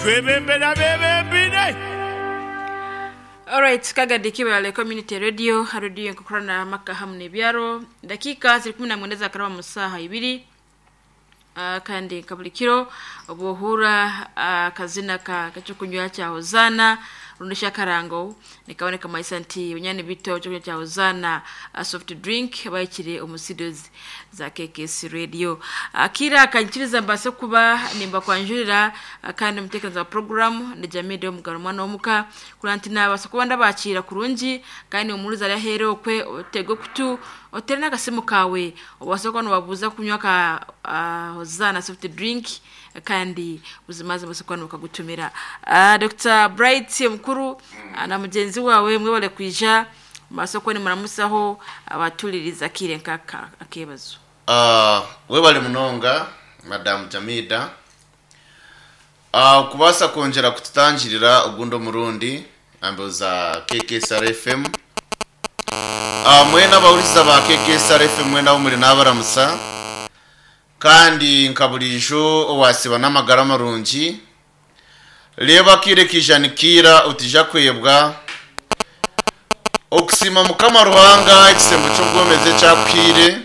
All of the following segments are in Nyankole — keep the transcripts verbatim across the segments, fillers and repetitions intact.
Twebembera bebembire. Alright, kagadi kibale community radio radio nkukorana maka hamu nebyaro dakika ziri kumi na mwenda za karaba mu saha ibiri. Uh, kandi kabulikiro obuhura uh, kazina ka kachokunywa cha Hozana rundisha karango nikaboneka maisa nti unyani bito chokunywa cha Hozana uh, soft drink bayikire omusidozi za K K S radio. Akira uh, kanchiriza mbase kuba nimba kwanjurira uh, kandi mutekereza wa program ni jamii do mugaro mwana omuka kurantina basokuba ndabakira kurungi kandi umuruza rahero okwe otego kutu otere nakasimu kawe obasoko no kunywa ka uh, Hozana soft drink kandi buzimaze basoko no kagutumira. uh, Doctor Bright mukuru mm. na mugenzi wawe mwe bale kwija masoko ni muramusaho abatuliriza kire nkaka akebazo. Uh, we bali munonga Madam Jamida uh, kubasa konjera kututangirira ogundo murundi amboza K K S R F M. Uh, mwena abawuriza ba K K S R F M mwena umuri nabaramusa kandi nkabulijo owasiba n'amagara marungi leba kire kijanikira utija kwebwa okusima mukama ruhanga ekisembo cy'obwomeze cyakwire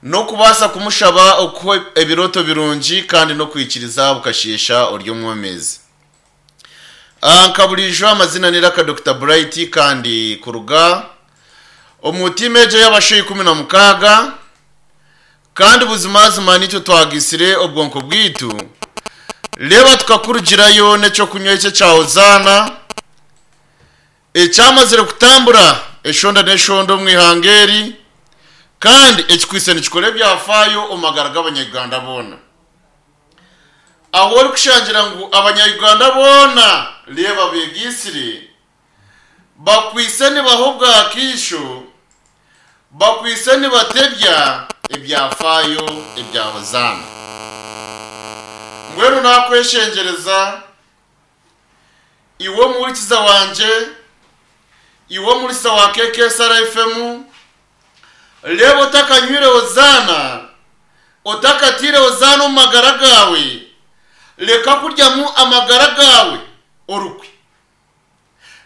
no kubasa kumushaba uko ebiroto birungi kandi no kwikiriza bukashisha oryo mwomeze. Nkabulijo amazina ni Raka Doctor Bright kandi kuruga omutimeje y'abashoyi kumi na mukaga kandi buzimazima nicyo twagisire obwonko bwitu leba tukakurugirayo necyo kunywa icyo cya Hozana ecyamazire kutambura eshonda neshondo mwihangeri kandi ekikwise nikikore byafayo omagara g'abanyarwanda bona aho uri kushangira ngu abanyarwanda bona leba begisire bakwise nibaho bwakisho bakwise nibatebya ebyafayo ebya Hozana. Mbwenu nakweshengereza iwe murikiza wanje iwe murisa wa K K S R F M lebo otakanywire Hozana otakatire Hozana omu magara gawe leka kuryamu amagara gawe orukwe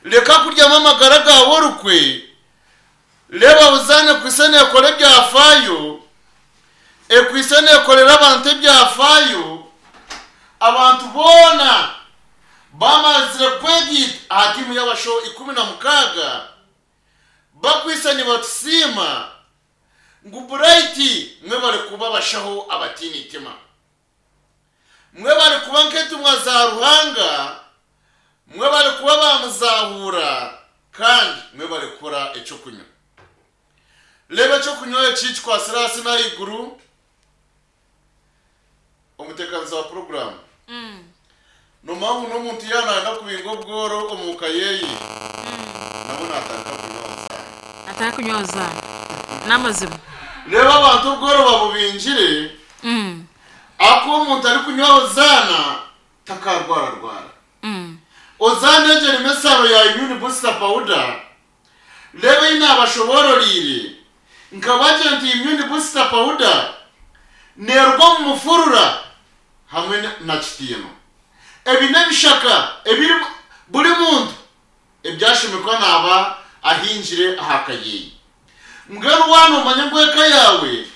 leka kuryamu amagara gawe orukwe leba Hozana kwisene ekore ebyafayo ekwisene ekorera abantu ebyafayo abantu bona bamazire kwegita aha timu y'abasho ikumi na mukaga bakwisani batusima ngu Bright mwe bari kuba bashaho abatini itima mwe bari kuba nketumwa za ruhanga mwe bari kuba bamuzahura kandi mwe bari kora eco kunywa leba eco kunywa ecicwa sirasi n'ayiguru omutekaniza wa program mm. nomangu n'omuntu yananda kubinga obworo omuka yeye mm. nabo natandika kunywa Hozana ataka kunywa Hozana n'amazima reba abantu obworo babubinjire mm. ako omuntu ari kunywa Hozana takarwara rwara mm. Hozana egyo mesaro ya immune booster powder leba inabashobororire nkabagira nti immune booster powder nerwa mu mufurura hamwe na kitino ebi n'ebishaka ebiri buri muntu ebyashimikwa naba ahinjire ahakayeyi mbwenu wano manya ngweka yawe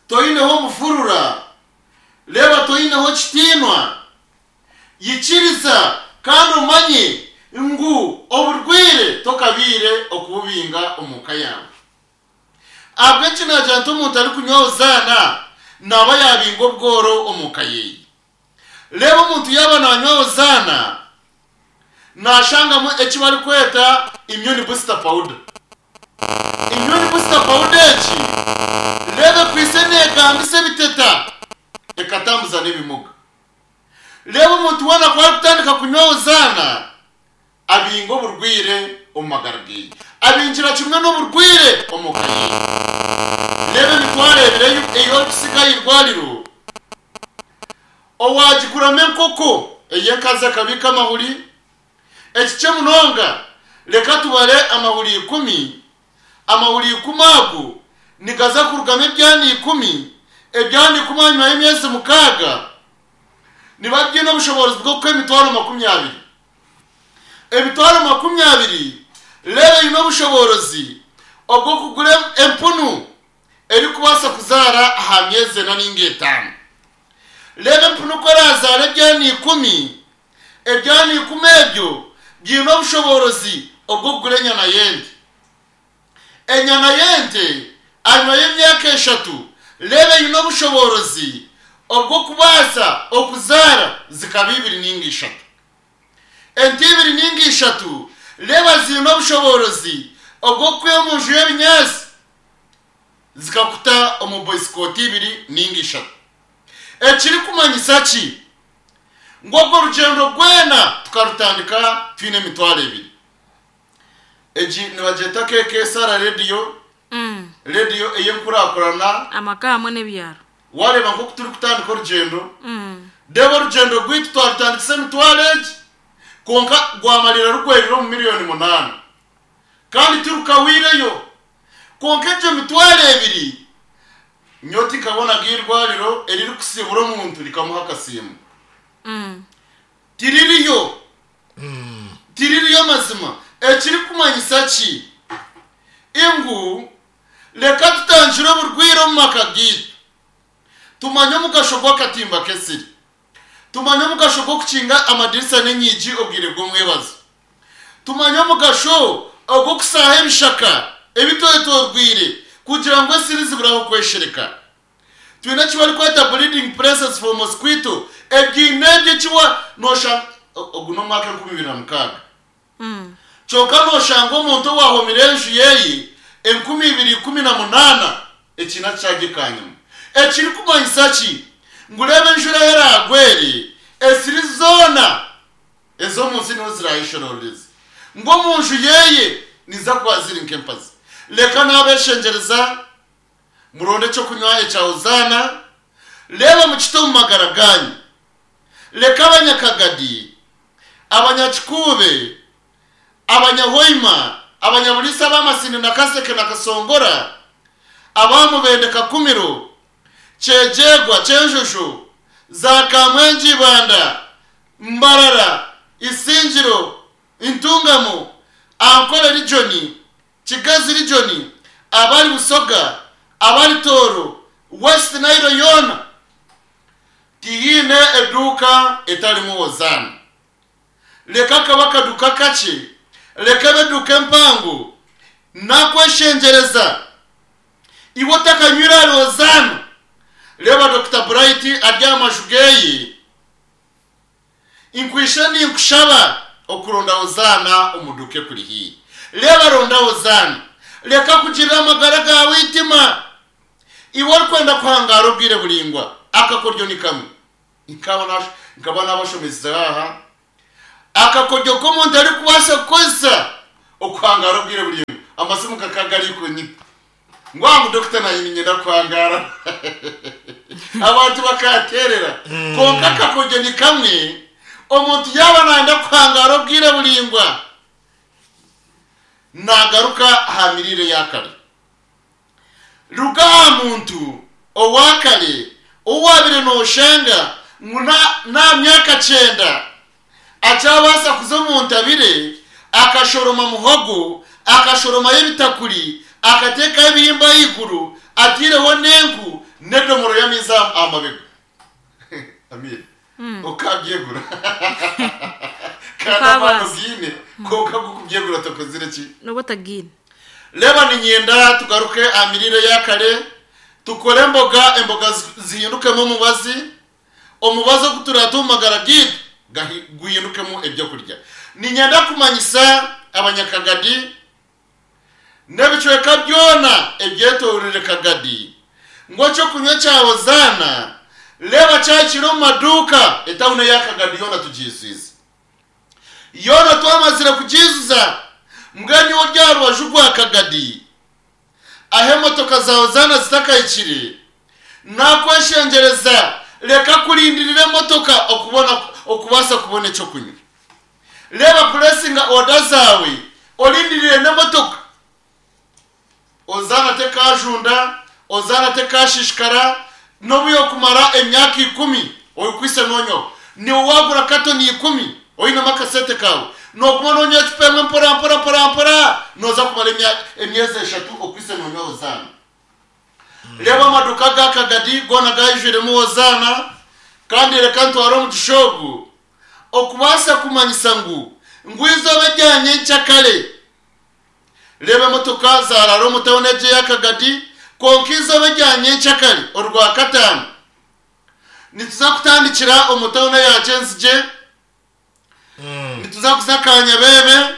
toyineho mufurura leba toyineho kitinwa yikiriza kandi umanye ngu oburwire tokabire okububinga omuka yawe abwenki nagira nti omuntu ari kunywa Hozana naba yabinga obworo omuka yeyi leba omuntu yaba nanywa Hozana nashangamu eki bari kweta immune booster powder immune booster powder eki lebe kwise negambisa ebiteta ekatambuza n'ebimuga leba omuntu wana kwari kutandika kunywa Hozana abinga oburwire omu magara geye abinjira kimwe n'oburwire omu ka yeye leba emitwarebireyo eyo kusigayo irwariro owagiguramo enkoko ey'enkazi akabika amahuri ekice munonga leka tubare amahuri ikumi amahuri ikumi ago nigaza kurugamu ebyana ikumi ebyana ikumi hanyuma y'emyezi mukaaga Niba byine obushobozi bw'okuha emitwaro makumi abiri. Emitwaro makumi abiri reba eine obushobozi obw'okugura empunu erikubaasa kuzaara aha myezi ena ninga etaano. Reba empunu ku erazaara ebyana ikumi, ebyana ikumi ebyo byine obushobozi obw'okugura enyana y'ente. Enyana y'ente anyuma y'emyaka eshatu reba eine obushobozi obw'okubaasa okuzaara zikaba ibiri ninga ishatu. Ente ibiri ninga ishatu reba ziine obushobozi obw'okwiha omu nju y'ebinyaasi zikakuta omu boisikoti ibiri ninga ishatu. Ekirikumanyisa ki? Ngu ogwo orugyendo rwena tukarutandika twine emitwaro ebiri. Egi nibagyeta K K S R Radio, Mm. radio ey'enkurakurana. Amaka hamwe n'ebyaro. Wareeba nk'oku turikutandika orugyendo, Mm. deeba orugyendo rwaitu twarutandikisa emitwaro egi, kwonka rwamarira rugwerire omu miliyoni munaana. Kandi turukawireyo. Kwonka egyo mitwaro ebiri, nyowe tinkabonaga eirwariro eririkusiibura omuntu rikamuha akasiimo. Mm. Tiririyo. Tiririyo mazima. Ekirikumanyisa ki? Ingu reka tutangire oburwire omu maka gaitu. Tumanye omugasho gw'akatimba k'esiri. Tumanye omugasho gw'okukinga amadirisa n'enyigi obwire bw'omwebazo. Tumanye omugasho ogw'okusaaha ebishaka ebitoetoorwire kugira ngu esiri ziburaho kweshereka. Twine eki barikweta breeding places for mosquito. Ebyine ebyo ekiwa nosha ogu n'omwaka enkumi ibiri na mukaaga. Mm. Kyonka noshanga omuntu owahomire enju yeeye enkumi ibiri ikumi na munaana ekiina kyagekanyuma. Ekirikumanyisa ki? Ngu reeba enjura eragwere esiri zoona ez'omu nsi niho zirayishororeza. Ngu omu nju yeeye niza kuba ziri nk'empazi. Reka n'abeshengereza muronde ekyokunywa ekya Hozaana, reeba mukite omu magara ganyu. Reka abanyakagadi, abanyakikuube, abanyahoima, abanyabulisa b'amasindi na Kaseke na Kasongora, abamubende Kakumiro, Kyegyegwa, Kyenjojo, za Kamwengi Ibanda, Mbarara, Isingiro, Intungamo, Ankole Region, Kigazi Region, abari Busoga, abari Toro, West Nile yoona, tihiine eduuka etarimu Hozaana. Reka kaba akaduuka kakye, reka ebe eduuka empango, nakweshengyereza iwe otakanywire ahari Hozaana. Reba Doctor Bright ari aha maju geeye, inkwishe ninkushaba okuronda Hozaana omuduuka ekuri haihi. Reba ronda Hozaana, reka kugirira amagara gawe eitima. Iwe orikwenda kuhangara obwire buringwa, akakoryo ni kamwe. Nkaba nash-, nkaba nabashomesa aha. Akakoryo k'omuntu arikubaasa kukozesa okuhangara obwire buringwa. Amasimu kakagari kunyita. Ngwangu Doctor naye ninyenda kuhangara. Abantu bakaterera. Konka akakoryo ni kamwe, omuntu yaba nayenda kuhangara obwire buringwa, nagaruka aha mirire yakare. Ruga aha muntu owakare owabire noshanga ngu na, na myaka kyenda akyabasa kuza omu ntabire, akashoroma muhogo, akashoromayo ebitakuri, akateekayo ebihimba ahaiguru, atiireho n'enku n'edomoro y'amaizi aha mabega. Amir, okabyegura. Kandi amano giine, konka gukubyegura tokozire ki? Nobwo otagiine. Reba ninyenda tugaruke aha mirire yakare, tukore emboga, emboga zi-, zihindukemu omubazi, omubazi ogu turata omu magara gaitu gahi-, guhindukemu ebyokurya. Ninyenda kumanyisa abanyakagadi n'ebicweka byona ebyetoorire Kagadi ngu ekyokunywa kya Hozaana reba kyakiri omu maduuka etawuni eya Kagadi yoona tugiizwize. Yoona twamazire kugiizuza, mbwenu iwe ori aha rubaju rwa Kagadi aho emotoka za Hozaana zitakahikire, nakweshengyereza reka kurindirira emotoka okubona, okubaasa kubona ekyokunywa. Reba puresinga oda zaawe orindirire n'emotoka. Hozaana tekajunda, Hozaana tekashishikara, n'obu yokumara emyaka ikumi oyikwise nonyoho. Niwe wagura katoni ikumi oinemu akasente kawe, nooguma noonywa ecupa emwe mpora mpora mpora mpora, nooza kumara emya- emyezi eshatu okwise noonywa Hozaana. Reeba amaduuka ga Kagadi goona gaijwiremu Hozaana. Kandi reka ntware omugisha ogu okubaasa kumanyisa ngu ngu eizooba erya nyencakare, reeba emotoka zaaraara omu tawuni egi eya Kagadi, kwonka eizooba erya nyencakare Orwakataano nituza kutandikira omu tawuni eya Kyenzigye, nituza kuza Kanyabeebe,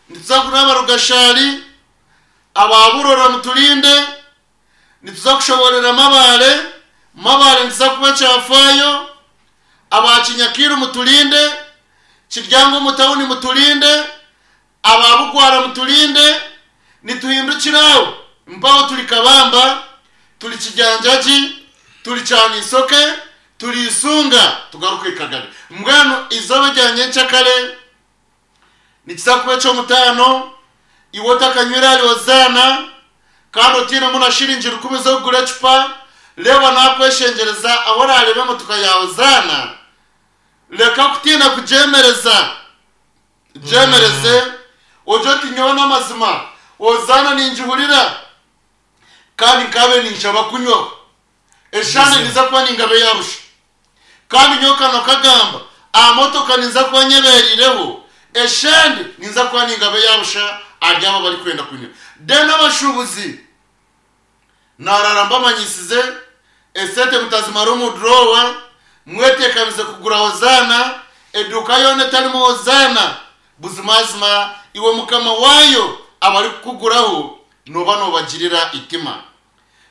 nituza kunaaba Rugashari, aba Burora muturinde, nituza kushoborera Mabare, Mabare nituza kuba Kyafaayo, aba Kinyakiru muturinde, Kiryango omu tawuni muturinde, aba Bugwara muturinde, nituhindukira aho mpaho turi Kabamba, turi Kijanjagi, turi Kyanisoke, turi Isunga, tugaruke Kagari. Mbwenu izooba rya nyencakare nikiza kuba eky'omutaano. Iwe otakanywire ahari Hozaana kandi otiinemu na shiringi rukumi z'okugura ecupa, reeba naakweshengyereza ahu oraareeba emotoka ya Hozaana, reka kutiina kugyemereza, gyemereze ogye oti nyowe n'amazima Hozaana ningihurira kandi nkabe ninshaba kunywaho eshande, ninza kuba ningabe yarusha. Kandi nyowe kano kagamba aha motoka ninza kuba nyeberireho eshande, ninza kuba ningabe yarusha ahari abo barikwenda kunywa. Then abashuubuzi narara mbamanyisize, esente mutazimara omu drawer, mwetekanize kugura Hozaana. Eduuka yoona etarimu Hozaana, buzimazima iwe mukama waayo abarikukuguraho noba nobagirira itima.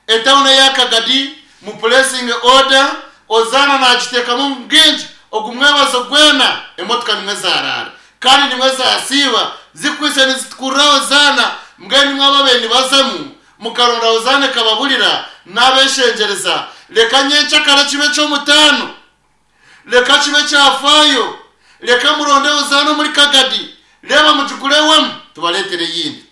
Etawuni eya Kagadi mupulesinge order, Hozaana nagiteekamu omu bwingi. Ogu mwebazo gwena emotoka nimwe zaraara kandi nimwe zasiiba zikwise nizitukurura Hozaana. Mbwenu nimwe ababe nibazamu mukaronda Hozaana ekababurira, n'abeshengyereza, reka nyencakara kibe ky'omutaano, reka kibe kyafaayo, reka muronde Hozaana omuri Kagadi, reeba mugigurewemu tubareetere eyindi.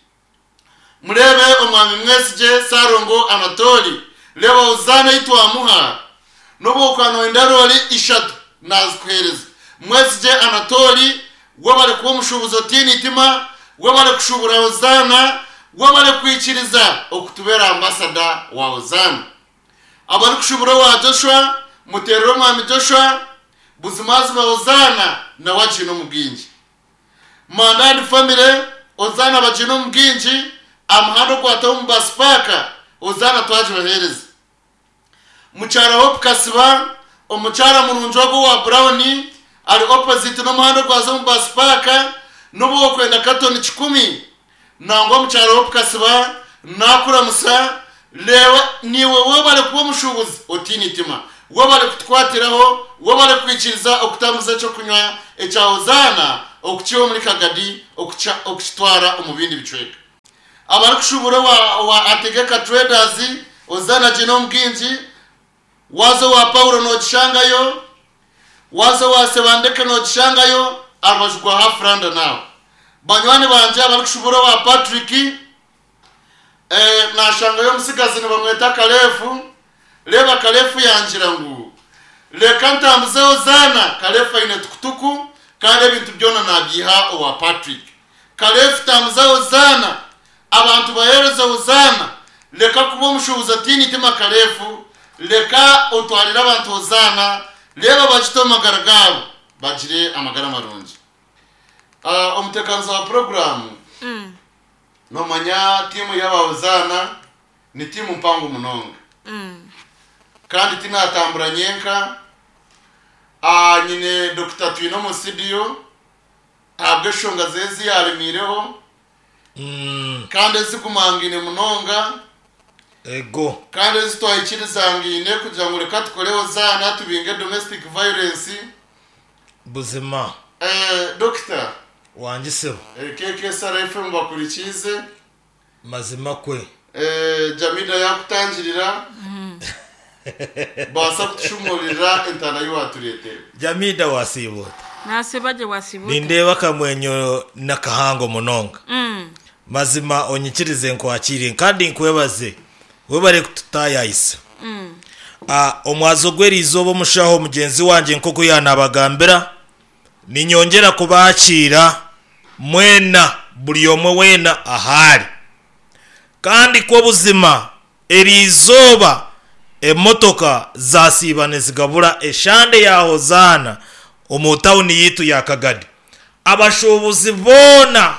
Mureebe omwami Mwesigye Sarongo Anatoli, reeba Hozaana ei twamuha, n'obu okanoenda roori ishatu nazikuheereza. Mwesigye Anatoli, webare kuba omushuubuzi otiine itima, webare kushuubura Hozaana, webare kwikiriza okutubeera ambasada wa Hozaana. Abarikushuubura owa Joshua, muteerere omwami Joshua, buzimazima Hozaana nawe agiine omu bwingi. Mandandi family, Hozaana bagiine omu bwingi. Amuhanda okwataho omu basipaaka, Hozaana twagibaheereza. Mukyara Hope Kasiba, omukyara murungi ogwo wa Brown, ari opposite n'omuhanda ogwaza omu basipaaka, n'obu okwenda katoni kikumi, nangwa mukyara Hope Kasiba nakuramusa. Reeba niiwe webare kuba omushuubuzi otiine itima, webare kutukwatiraho, webare kwikiriza okutambuza ekyokunywa ekya Hozaana okukiha omuri Kagadi okucha- okukitwara omu bindi bicweka. Abarikushuubura owa, owa Ategeka Traders, Hozaana giine omu bwingi. Waza owa Paulo nogishangayo, waza owa Sebandeke nogishangayo, aha rubaju rwa Hafuranda. Nawe banywani bangye abarikushuubura owa Patrick, eh, nashangayo omusigazi nibamweta Kalefu. Reeba Kalefu yangira ngu reka ntambuze Hozaana. Kalefu aine tukutuku kandi ebintu byona nabyiha owa Patrick. Kalefu, tambuza Hozaana, abantu baheereze Hozaana. Reka kuba omushuubuzi atiine itima. Kalefu, reka otwarire abantu Hozaana, reeba bagite omu magara gaabo bagire amagara marungi. uh, omuteekanizi wa puroguramu, Mm. nomanya tiimu y'abahozaana ni tiimu mpango munonga. Mm. Kandi tinatambura nyenka. Ah, nyine Dr Twine omu studio ahabwa eshonga ze yaremiireho Mm, kandi ezigumangaine munonga ego kandi ezitwahikirizangaine kugira ngu reka tukore Hozaana tubinge domestic violence. Buzima. eh, Dr Wangisebo. eh, K K S R F M bakurikize. Mazima kwe. eh, Jamida yakutangirira baasa kutushumurira entana yiwatureetera. Jamida, wasiibuta? Nasibaje, wasibuta? Nindeeba akamwenyo n'akahango munonga. Mm. Mazima onyikirize nkwakire kandi nkwebaze, webare kututayayisa. Mm. Ah, omwazo gw'erizooba omushaho mugenzi wange nk'oku yanabagambira ninyongera kubakiira mwena buri omwe weena ahari kandi kw'obuzima erizooba emotoka zasiiba nizigabura eshande ya hozaana omu tawuni yitu ya kagadi. Abashuubuzi boona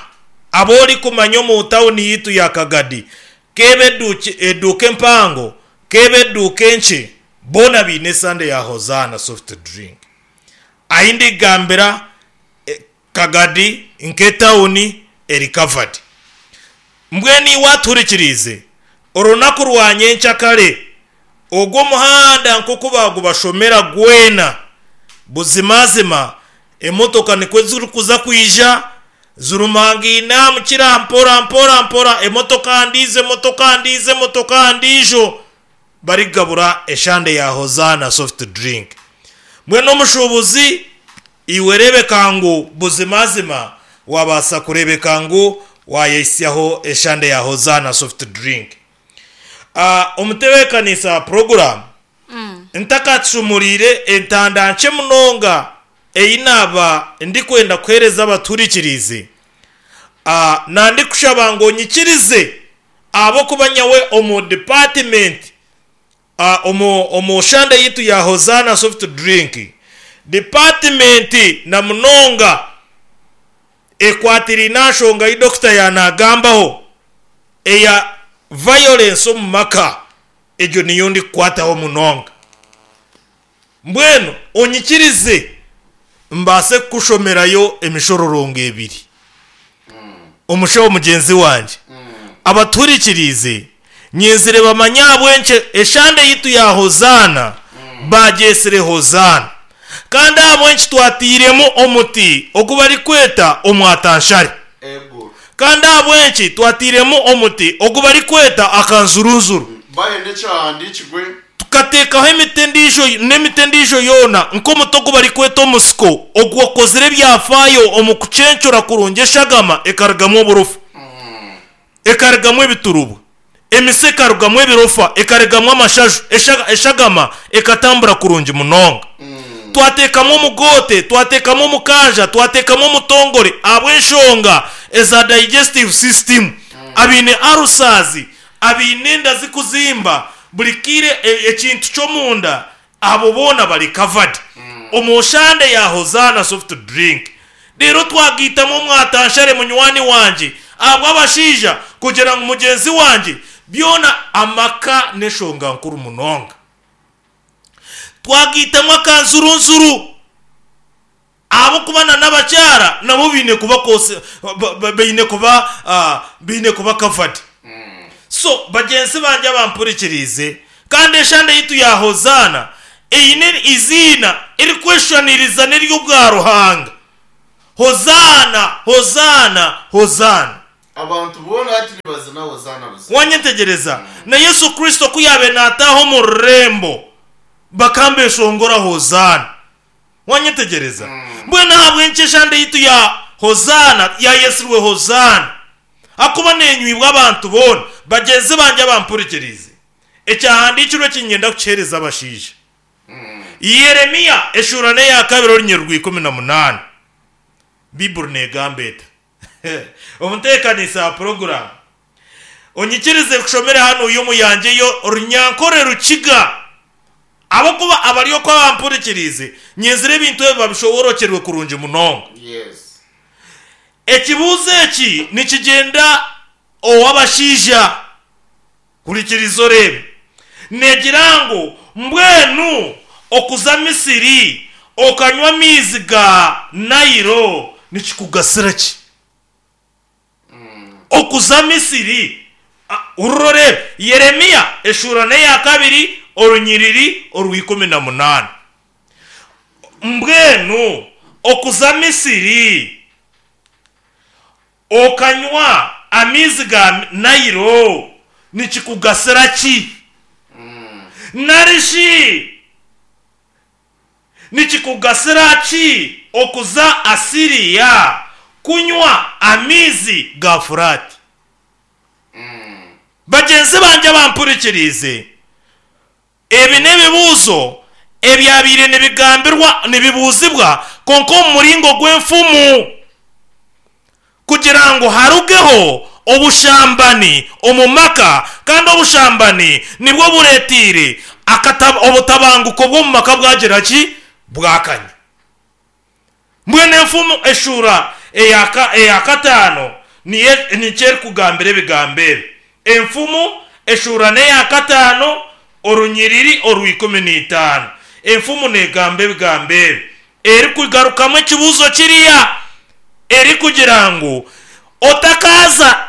abori kumanya omu tawuni yitu ya kagadi, kebe eduki- eduuka empango, kebe eduuka enkye, boona biine esande ya Hozaana soft drink. Ahi ndigambira eh, kagadi nk'etawuni eri covered. Mbwenu iwe aturikiriize orunaku rwa nyenkyakare ogwo omuhanda nk'oku bagubashomera gwena, buzimazima emotoka nikwe zirikuza kwija zirumangaine mukira mpora mpora mpora, emotoka ndiizo, emotoka ndiizo, emotoka ndiijo, barigabura eshande ya Hozaana soft drink. Mbwenu omushuubuzi iwe rebeka ngu buzimazima wabaasa kurebeka ngu wayehisyaho eshande ya Hozaana soft drink. uh, omutebeekanisa program, ntakacumuriire entanda nkye munonga eyi naaba ndikwenda kuheereza abaturikirize, uh, nandikushaba ngu onyikirize ahabw'okuba nyawe omu department, uh, omu, omu shande yitu ya Hozaana soft drink department, na munonga ekwatiriine aha nshonga yi dokita yanagambaho eya violence omu maka, egyo niyo ndikukwataho munonga. Mbwenu onyikirize mbaase kukushomerayo emishororongo ebiri, omushaho mugyenzi wangye. Abaturikirize nyenzire bamanye ahabw'enkye eshande yitu ya Hozaana bagyesire Hozaana, kandi ahabw'enki twatiiremu omuti ogu barikweta omwatanshare, Ego. kandi ahabw'enki twatiiremu omuti ogu barikweta akanzurunzuru, Bahende ekyahandiikirwe. Tukateekaho emiti endiijo n'emiti endiijo yoona, nk'omuti ogu barikweta omusiko, ogu wakozire ebyafaayo omu kucencura kurungi eshagama ekarugamu oburofa, ekarugamu ebiturubwa, emisi ekarugamu ebirofa, ekarugamu amashaju, eshaga- eshagama ekatambura kurungi munonga. Twateekamu omugote, twateekamu omukanja, twateekamu omutongore ahabw'enshonga eza digestive system, abiine arusazi, abiine enda zikuzimba buri kiire, e- ekintu ky'omunda, abo boona bari covered omu shande ya Hozaana soft drink. Rero twagiitamu omwatanshare munywani wangye ahabw'abashaija, kugira ngu mugyenzi wangye byona amaka n'enshonga nkuru munonga. Twagiitamu akanzurunzuru ahabw'okuba na n'abakyara nabo biine kuba kose ba- ba- baine kuba ah, biine kuba covered. So bagyenzi bangye abampurikiriize, kandi eshande yitu ya Hozaana eine iziina erikweshushaniriza n'ery'obwa Ruhanga: Hozaana, Hozaana, Hozaana. Abantu boona hati nibazina Hozaana buzima. Wanyetegereza na Yesu Kristo ku yabe naataaha omu rurembo bakambeshongora Hozaana. Wanyetegereza? Mbwenu ahabw'enki eshande yitu ya Hozaana yayesirwe Hozaana? Akuba nenywibwa abantu boona. Bagyenzi bangye abampurikirize, ekyahandiikirwe kinyenda kukiheereza abashaija: Yeremiya eshuura n'eya kabiri, orunyiriri rwa ikumi na munaani. Biburi negamba eta? Omuteekanisa wa poroguramu, onyikirize kushomera hano y'omuyange yo runyankore rukiga, abakuba abari okwo abampurikirize nyenzire ebintu ebi babishoborokerwe kurungi munonga. Yes. Ekibuuzo eki nikigyenda ow'abashaija. Hurikiriza oreebe. Negira ngu mbwenu okuza Misiri okanywa amaizi ga Nayiro nikikugasira ki? Okuza Misiri. Ah, ururo rero Yeremiya eshuura n'eya kabiri, orunyiriri orw'ikumi na munaani: mbwenu okuza Misiri okanywa amaizi ga Nayiro nikikugasira ki? Narishi nikikugasira ki okuza Asiriya kunywa amaizi ga Furati? Bagyenzi bangye bampurikirize. Ebi n'ebibuuzo ebyabaire nibigambirwa nibibuuzibwa konka omu muringo gw'enfumu kugira ngu harugeho obushambani omu maka, kandi obushambani nibwo buretiire obutabanguko bw'omu maka bwagira ki bwakanya. Mbwenu enfumu eshuura eya kataano nikyo erikugambira ebigambo ebi. Enfumu eshuura n'eya kataano orunyiriri orw'ikumi n'itaano. Enfumu neegamba ebigambo ebi erikugarukamu ekibuuzo kiriya erikugira ngu otakaza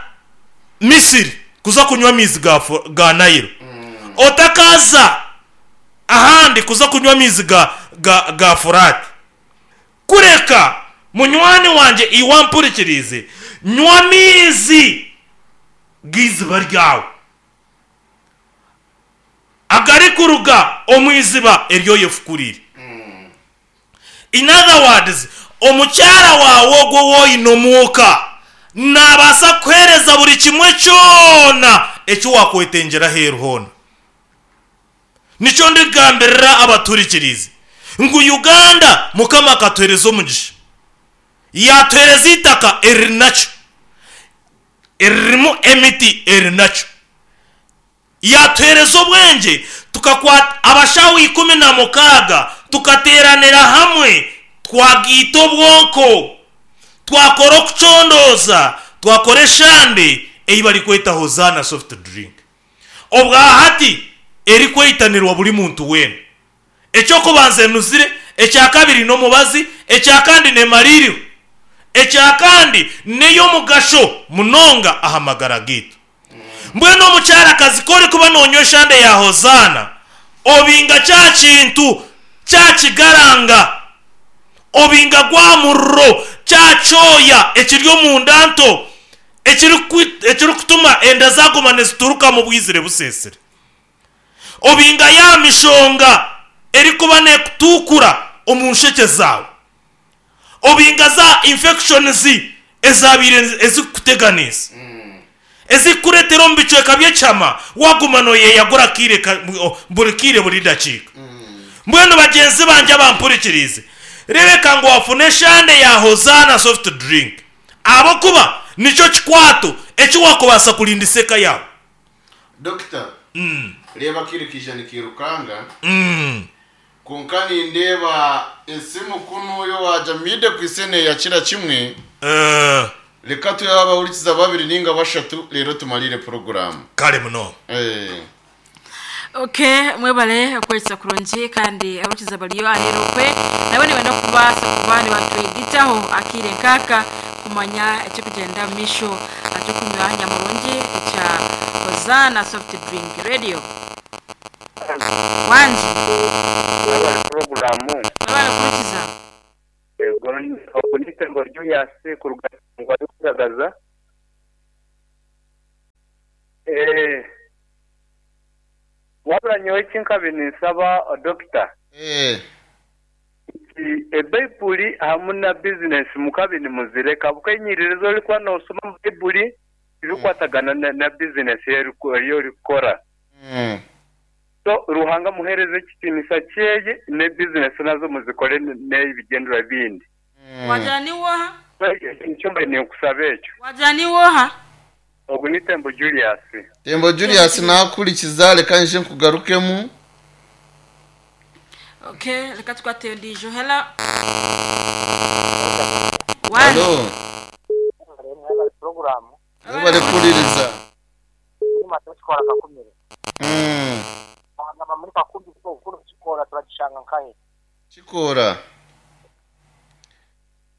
Misiri kuza kunywa amaizi ga, ga Nile, otakaza ahandi kuza kunywa amaizi ga, ga, ga Furati, kureka munywani wangye iwe ampurikirize, nywa amaizi g'iziba ryawe agarikuruga omu iziba eryoyefukurire. In other words, omukyara wawe ogwo woine omuuka nabaasa kuhereza buri kimwe kyona eki wakwetengyera aheeru hoona. Nikyo ndigambirira abaturikirize ngu Uganda Mukama akatuhereza omugisha, yatuhereza itaka eriri nakyo, eririmu emiti eri nakyo, yatuhereza obwengye tukakwata abashaho ikumi na mukaaga tukateeranira hamwe, twagiita obwonko, twakora okucondooza, twakora eshande ei barikweta Hosanna soft drink. Obwahati erikweitanirwa buri muntu weena. Ekyokubanza enuzire, ekyakabiri n'omubazi, ekyakandi nemaririho, ekyakandi n'ey'omugasho munonga aha magara gaitu. Mbwenu omukyarakazi korikuba nonywa eshande ya Hosanna, obinga kya kintu kyakigaranga, obinga gwa muriro kyakyoya ekiri omunda nto ekirikutuma enda zaguma nizituruka mu bwizire busesere, obinga ya mishonga erikuba nekutukura omu nsheke zawe, obinga za infections ezabiire ezikuteganisa ezikuretera omu bicweka by'ekyama waguma noyeyagura kiire buri kiire buri dakiika. Mbwenu bagyenzi bangye abampurikirize, rebeka ngu wafuna eshande ya Hosanna soft drink ahabwokuba nikyo kikwato eki wakubaasa kurindisa eka yawe. Dokita, Mm. reba kiri kija nikirukanga Mm. konka nindeba esimu kunu yo wajamide kwisene yakira kimwe. Eh, Reka tuyabahurikiza babiri ninga bashatu rero tumalire program. Kare muno. Eh. Okay, mwebale okwetsa kurungi kandi abakiza baliyo ahero kwe nabo nibenda kubaasa kuba nibatwegitaho akire nkaka kumanya ekikugenda mu misho ekyokunywa nyamurungi ekya Hosanna soft drink radio. Wanji Mwebale poroguramu mwebale kurikiza. Ego nitembo Julius kuruga kugaragaza eh wabula nyowe kinkabi ninsaba dokita Eh. ebaibuli hamu na bizinesi mukabi nimuzireka bukenyiririzo orikuba nosoma mu baibuli ibikwatagana na, na bizinesi eyorikukora. Mm. So Ruhanga muhereze ekitinisa kyeye ne bizinesi nazo muzikore n'ebigendera bindi. Mm. Wagira ni woha? Nicyo mbaye ninkusaba ekyo. Wagira ni woha? Ogu ni Tembo Julius. Tembo Julius nakurikiza reka nje nkugarukemu. Okay, reka tukwate ndijo. Hello. Wanji Hello. Mwebale poroguramu Mwebale kuririza. muri mata kikora kakumire Mm. bagamba muri kakumbi ko ukuru kikora turagishanga nkahe Kikora.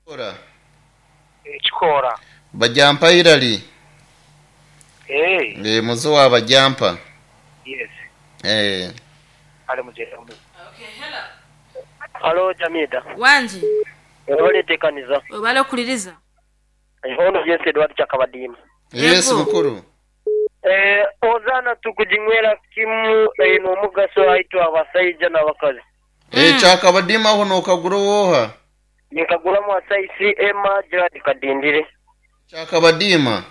Kikora. kikora Bajampa irali. eh Eh muzo wa bajampa. yes Eh. ale mujere Okay, hello. Halo Jamida. Wanji Webale tekaniza. webale okuliriza. Ono Yes Edward Chakabadima. Yes Yego. mukuru. Eh Ozana tukujinywera kimu eh, n'omugaso aitwa abasaija n'abakazi. Eh Mm. Chakabadima hono okagura woha. Nikagulamu asaisi Emma Gerard Kadindire. Chakabadima.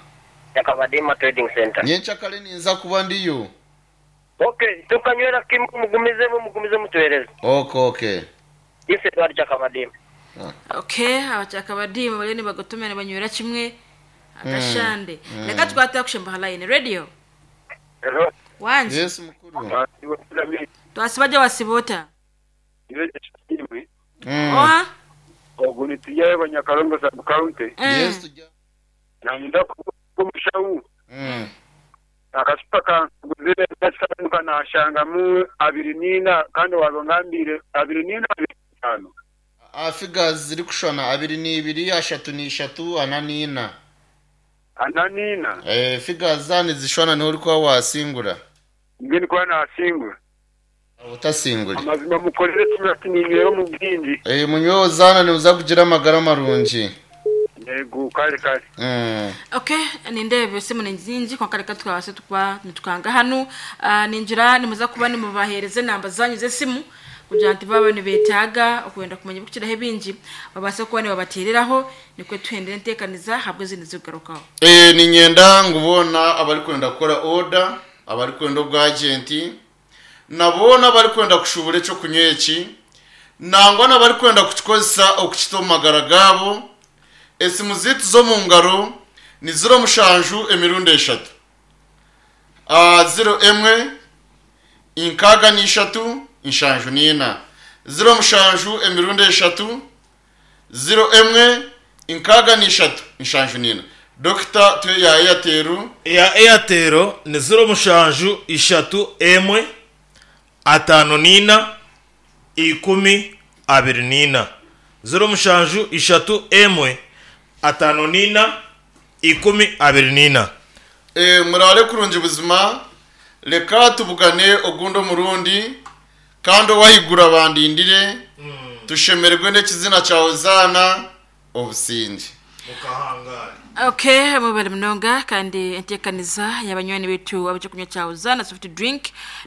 Chakabadima Trading Center. Nyencha kale ninza kuba ndiyo. Okay, tukanywera kimu mugumizemu mugumize mutuhereze. Okay, okay. Ise twari chakabadimu. Okay, abachakabadimu bariyo nibagotomera banywera kimwe agashande. Reka twata kushemba line radio. Hello. Wanje Yes, mukuru. twasibaje wasibota. Mm. Oha? Ogu nitujayo Banyakarongo sub county. Mm. Yes, tujya. Nanyenda kumushawu. Mm. Akasupa kanguzire ndasanuka nashangamu abiri nina kandi wabangambire abiri nina abiri tano. Ah, figures ziri kushwana abiri n'ibiri, ashatu n'ishatu, ana n'ina. Ana nina. Eh, figures zani zishwana niho uri kuba wasingura. Ngeni kwa nasingura. Utasingura. Amazima mukorere kimwe ati ninywera mu bwingi. Eh, munyweho zana niuza kugira amagara marungi. Yego kare kare. Mm. Okay, nindebe simu ni nyingi kwa kare twabase tukwa nitukanga hano. uh, ninjira nimuza kuba nimubahereze namba zanyu z'esimu kugira nti babe nibetaga okwenda kumenya bukiraho ebingi babase kuba nibabatereraho nikwe tuhendere ntekaniza habwe zindi zigarukaho. Eh, ninyenda ngubona abari kwenda gukora order, abari kwenda ubwagenti, nabona abari kwenda kushubura eco kunywa eki, nangwa n'abari kwenda kukikozesa okukita omu magara gabo. Esimu zitu zo mu ngaro ni ziro mushanju emirundi eshatu. Ah, ziro emwe inkaga n'ishatu inshanju n'ina. Ziro mushanju emirundi eshatu, ziro emwe inkaga n'ishatu inshanju n'ina. Dokita tuye ya Airtel ya Airtel ni ziro mushanju ishatu emwe atano nina ikumi abiri nina. Ziro mushanju ishatu emwe atano nina ikumi abiri nina. Eh, murare kurungi buzima, reka tubugane ogundi omurundi kandi owahigura bandindire tushemererwe n'ekizina kyawe zaana obusinge. Mukahangari. Okay, mubale munonga kandi entekaniza y'abanywani betu ab'ekyokunywa kya Uzana soft drink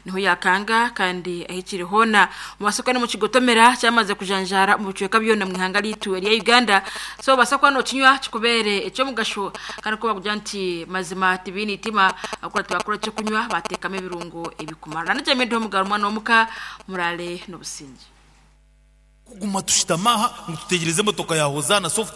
niho yakanga kandi ahikiri hona mu masoko no mu kigotomera cyamaze kujanjara mu bicweka byona mu ihanga litu rya Uganda. So basakwa no kinywa kikubere ecyo mugasho kandi ko bakugira nti mazima tibini itima akora tubakora cyo kunywa batekamo ebirungo ebikumara nanje mendo mugaro mwana womuka murale n'obusinge. Kuguma tushitamaha ngo tutegereze motoka ya Hozana soft.